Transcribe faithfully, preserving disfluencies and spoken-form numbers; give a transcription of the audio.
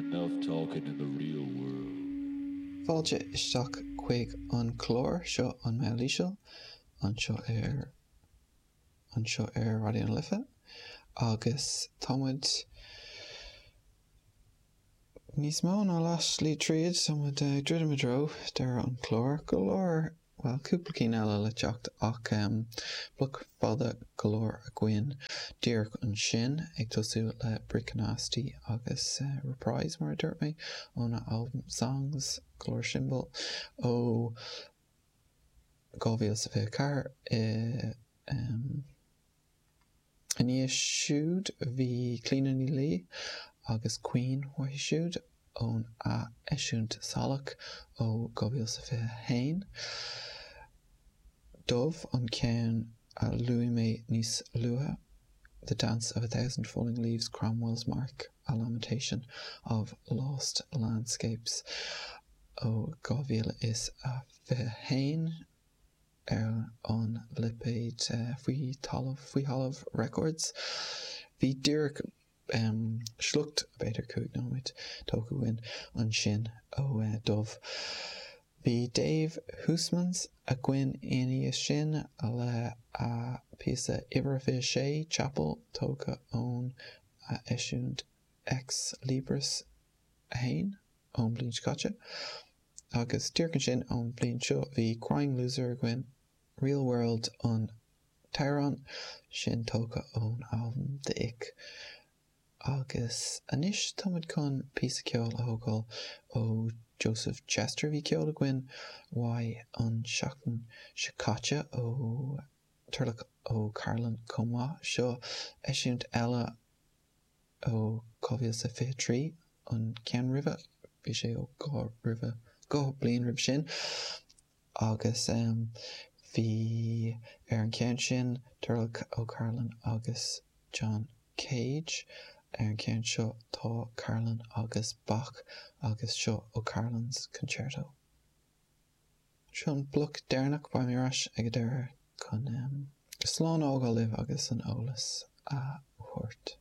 Enough talking in the real world. Fáilte isteach chuig an chlár seo an Meall Íseal anseo ar anseo ar Raidió na Life agus tá muid níos mó ná leath slí tríd tá muid ag druidim i dtreo deireadh an chláir go leor well cúpla cinn eile le teacht ach um, bloc fada go leor againn díreach ansin ag tosú le Brick Nasty agus uh, Reprise mar a dúirt mé óna album Songs Glór ó dhá mhíle is fiche ceathair i um, ina dhiaidh siúd bhí Clíona Ní Laoi agus Queen uaithi siúd ón a eisiúint Salach ó dhá mhíle is fiche haon. Dubh an ceann a luaigh mé níos luaithe, The Dance of a Thousand Falling Leaves Cromwell's Mark, a lamentation of lost landscapes ó dhá mhíle is a fiche haon ar an lipéad uh, faoi talamh faoi thalamh records. Bhí díreach um, sliocht b'fhéidir cúig nóiméad tógtha againn ansin ó uh, Dubh. Bhí Dave Huysmans againn ina dhiaidh sin le a píosa uimhir fiche sé Chapel tógtha ón a eisiúint Ex Libris a haon ón bliain seo caite. Agus díreach ansin ón bliain seo bhí Crying Loser againn Real World an t-amhrán sin tógtha ón album The Ick. Agus anois táimid chun píosa ceoil a thógáil ó Joseph Chester bhí ceol againn uaidh an seachtain seo caite ó Turlough O'Carolan chomh maith seo eisiúint eile ó dhá mhíle is fiche trí an ceann roimhe bhí sé ó dhá roimhe dhá bliain roimh sin agus um, bhí ar an ceann sin Turlough O'Carolan agus John Cage ar an ceann seo tá Carolan agus Bach agus seo O'Carolan's Concerto. Seo an bloc deireanach beidh mé ar ais ag deireadh chun um, slán a fhágáil libh agus an eolas a thabhairt.